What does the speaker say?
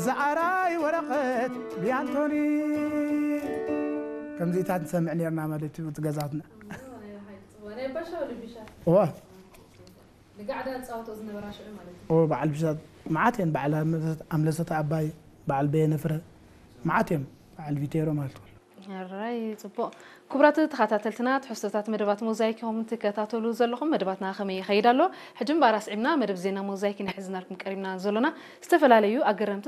ዝኣራይ ወረቐት ብያንቶኒ ከምዚታት ንሰምዕ ነርና ማለት እዩ እቲ ገዛትና። ናይ ባሻ ልቢሻ እዋ ንጋዕዳ ዝፃወቶ ዝነበራ ሽዑ ማለት እዩ። እዎ በዓል ብሻት መዓት እየን። በዓል ኣምለሰት ኣባይ፣ በዓል በየነ ፍረ፣ መዓት እዮም። በዓል ቪቴሮ ማለት እዩ። ሕራይ ፅቡቕ። ክቡራት ተኸታተልትና ትሕዝቶታት መደባት ሞዛይክ ኢኹም ትከታተሉ ዘለኹም። መደባትና ከመይ ይኸይድ ኣሎ? ሕጂ እምበኣር ኣስዒብና መደብ ዜና ሞዛይክ ኢና ሒዝናልኩም ቀሪብና ዘሎና። ዝተፈላለዩ ኣገረምቲ